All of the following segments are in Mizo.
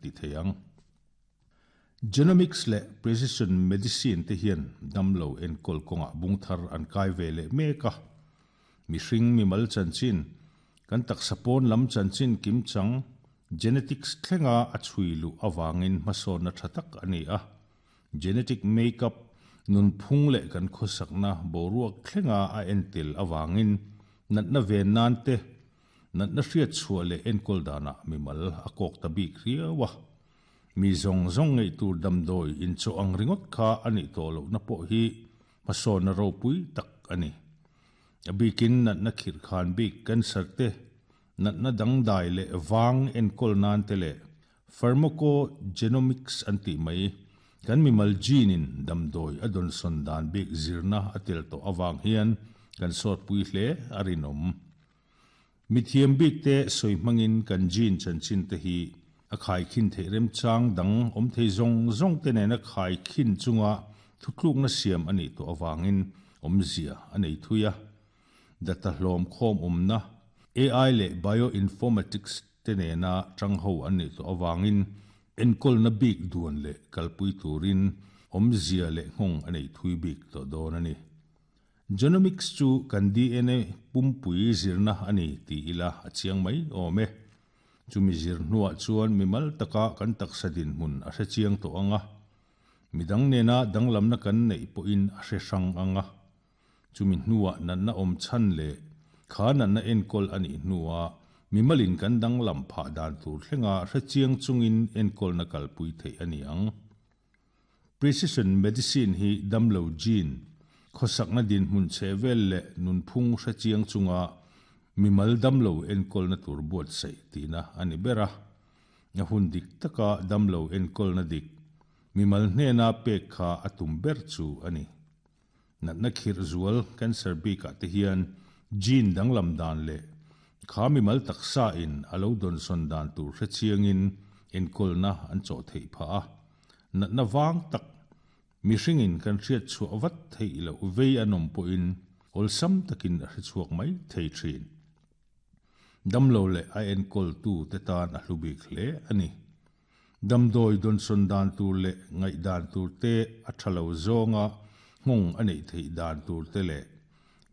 ti thei ang. Genomics leh precision medicine te hian damlo enkawl kawngah bung thar an kai ve leh mek a. Mihring mimal chanchin, kan taksa pawn lam chanchin kimchang, genetics thlenga a chhui luh avangin hmasawnna tha tak a ni a. Genetic make-up, nunphung leh kan khawsakna boruak thlenga a entel avangin natna ven nan te, natna hriat chhuah leh enkawl danah mimal a kawk ta bik riau a. Mi zawng zawng ngeih tur damdawi inchawh ang ringawt kha a nih tawh lohna pawh hi hmasawnna ropui tak a ni. A bikin natna khirh khan bik cancer te, natna dangdai leh vang enkawl nan te leh Pharmacogenomics an tih mai, kan mimal gene-in damdawi a dawnsawn dan bik zirna a tel tawh avang hian kan sawtpui hle a rinawm. Mithiam bikte sawi hmangin kan gene chanchin te hi a khaikhin theih remchang dang awm thei zawng zawng te nena khaikhin chunga thutlukna siam a nih tawh avangin awmzia a nei thui a. Data hlawm khawm awmna, AI leh bioinformatics te nena tang ho an nih tawh avangin enkawlna bik duan leh kalpui turin awmzia leh nghawng a nei thui bik tawh dawn a ni. Genomics chu kan DNA pumpui zirna a ni ti ila a chiang mai awm e. Chumi zir hnuah chuan mimal taka kan taksa dinhmun a hre chiang tawh ang a, midang nena danglamna kan neih pawhin a hre hrang ang a. Chumi hnuah natna awm chhan leh kha natna enkawl a nih hnuah mimalin kan danglam phah dan tur thlenga hrechiang chungin enkawlna kalpui theih a ni ang. Precision medicine hi damlo gene, khawsakna dinhmun chhe vel leh nunphung hrechiang chunga mimal damlo enkawlna tur buatsaih tihna a ni ber a. A hun dik taka damlo enkawlna dik mimal hnena pek kha a tum ber chu a ni. Natna khirh zual cancer bikah te hian gene danglam dan leh kha mimal taksa in a lo dawnsawn dan tur hrechiangin enkawlna an chawh theih phah a. Natna vang tak mihringin kan hriat chhuah vat theih loh vei an awm pawhin awlsam takin a hrechhuak mai thei thin. Damlo leh a enkawltu te tan a hlu bik hle a ni. Damdawi dawnsawn dan tur leh ngaih dan tur te a tha lo zawnga nghawng a neih theih dan tur te leh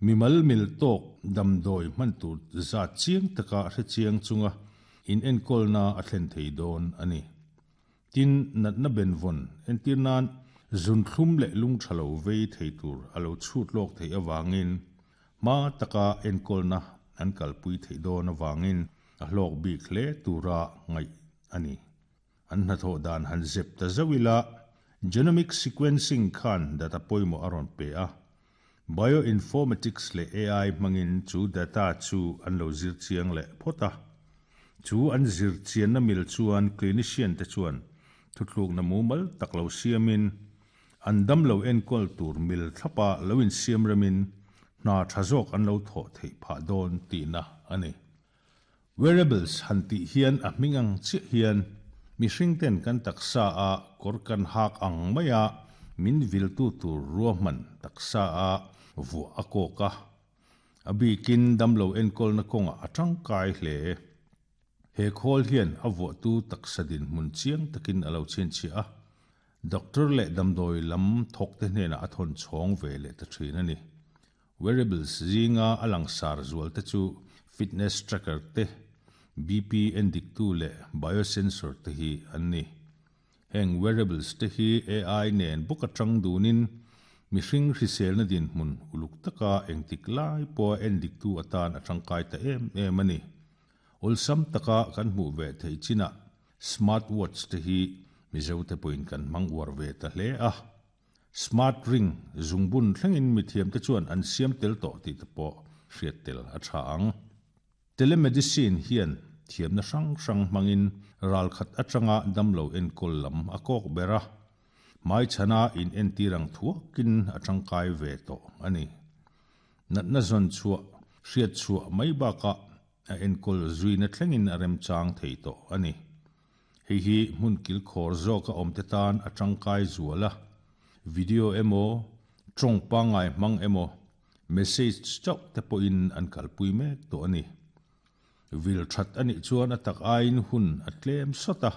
mimal mil tawk damdawi hman tur zat chiang taka hre chiang chunga inenkawlna a thlen thei dawn a ni. Tin, natna benvawn entir nan zunthlum leh lung tha lo vei thei tur a lo chhut lawk theih avangin hma taka enkawlna an kalpui theih dawn avangin a hlawk bik hle tura ngaih a ni. An hnathawh dan han zep ta zauh ila, genomic sequencing khan data pawimawh a rawn pe a. Bioinformatics leh AI hmangin chu data chu an lo zir chiang leh phawt a. Chu an zir chianna mil chuan clinician te chuan thutlukna mumal tak lo siamin, an damlo enkawl tur mil thlapa lo insiam remin hna tha zawk an lo thawh theih phah dawn tihna a ni. Wearables han tih hian a hming ang chiah hian mihring ten kan taksa a kawr kan hak ang maia min viltu tur ruahman taksa a vuah a kawk a. A bikin damlo enkawlna kawngah a tangkai hle. He khawl hian a vuahtu taksa dinhmun chiang takin a lo chhinchhiah a, doctor leh damdawi lam thawkte hnenah a thawn chhawng ve leh ta thin a ni. Wearables zinga a langsar zual te chu fitness tracker te, BP endiktu leh biosensor te hi an ni. Heng wearables te hi AI nen bawk atang dunin mihring hriselna dinhmun uluk taka engtik lai pawha endiktu atan a tangkai ta em em a ni. Awlsam taka kan hmuh ve theih chinah smart watch te hi Mizote pawhin kan hmang uar ve ta hle a. Smart ring zungbun thlengin mithiamte chuan an siam tel tawh tih te pawh hriat tel a tha ang. Telemedicine hian thiamna hrang hrang hmangin ralkhat atanga damlo enkawl lam a kawk ber a, hmaichhana inentir ang thuakin a tangkai ve tawh a ni. Natna zawn chhuah, hriat chhuah mai bakah a enkawl zuina thlengin a remchang thei tawh a ni. Hei hi hmun kilkhawr zawka awmte tan a tangkai zual a, video emaw, tawng pangngai hmang emaw, message chauh te pawhin an kalpui mek tawh a ni. Vil that a nih chuan a tak aiin hun a tlem sawt a.